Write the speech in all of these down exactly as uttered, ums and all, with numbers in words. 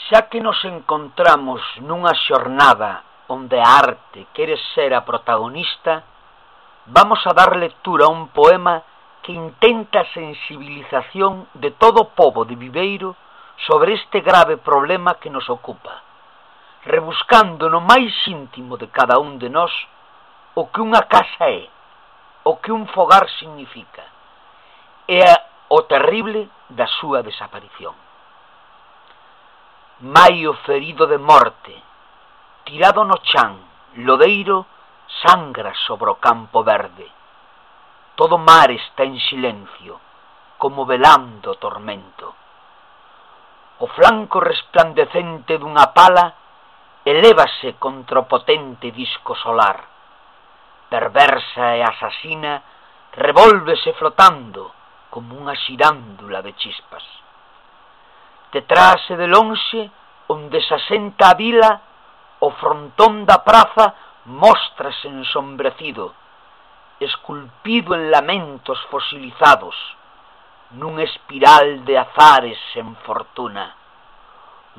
Xa que nos encontramos nunha xornada onde a arte quere ser a protagonista, vamos a dar lectura a un poema que intenta a sensibilización de todo o pobo de Viveiro sobre este grave problema que nos ocupa, rebuscando no máis íntimo de cada un de nós o que unha casa é, o que un fogar significa, e o terrible da súa desaparición. Maio ferido de morte, tirado no chan, lodeiro, sangra sobre o campo verde. Todo mar está en silencio, como velando o tormento. O flanco resplandecente dunha pala elévase contra o potente disco solar. Perversa e asasina, revólvese flotando como unha xirándula de chispas. Detrás e de lonxe, onde se asenta a vila, o frontón da praza móstrase ensombrecido, esculpido en lamentos fosilizados, nun espiral de azares sen fortuna.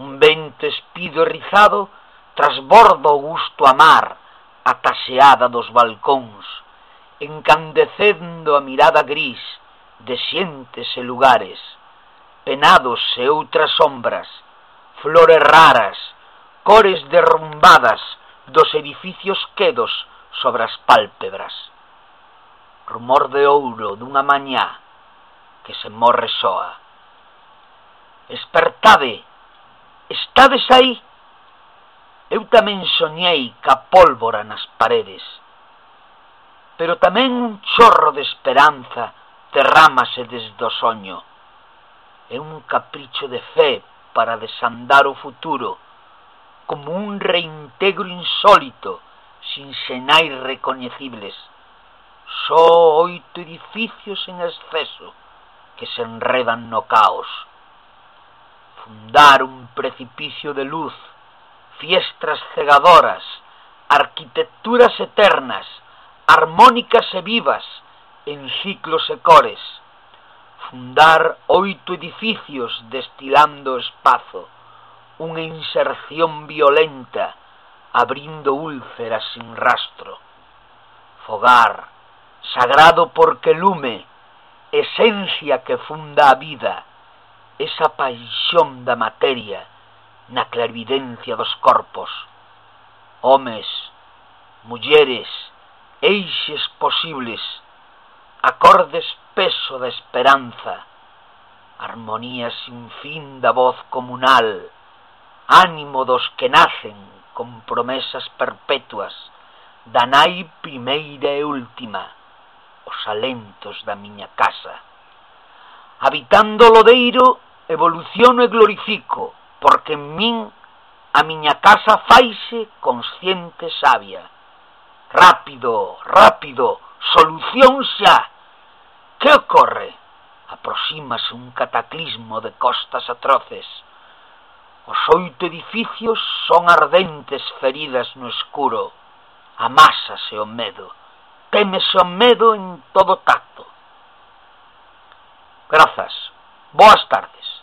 Un vento espido e rizado trasborda o gusto a mar, a taseada dos balcóns, encandecendo a mirada gris de xentes e lugares, penados e outras sombras, flores raras, cores derrumbadas dos edificios quedos sobre as pálpebras. Rumor de ouro dunha mañá que se morre soa. Espertade, estades aí? Eu tamén soñei ca pólvora nas paredes, pero tamén un chorro de esperanza derrámase desde o soño. É un capricho de fe para desandar o futuro, como un reintegro insólito, sin sinais recoñecibles. Só oito edificios en exceso que se enredan no caos. Fundar un precipicio de luz, fiestras cegadoras, arquitecturas eternas, armónicas e vivas, en ciclos e cores. Fundar oito edificios destilando espazo, unha inserción violenta, abrindo úlceras sin rastro. Fogar, sagrado porque lume, esencia que funda a vida, esa paixón da materia na clarividencia dos corpos. Homes, mulleres, eixes posibles, acorde espeso da esperanza, armonía sin fin da voz comunal, ánimo dos que nacen con promesas perpetuas, da nai primeira e última, os alentos da miña casa. Habitando o lodeiro, evoluciono e glorifico, porque en min a miña casa faise consciente sabia. Rápido, rápido, solución xa! Que ocorre? Aproxímase un cataclismo de costas atroces. Os oito edificios son ardentes feridas no escuro. Amásase o medo. Témese o medo en todo tacto. Grazas. Boas tardes.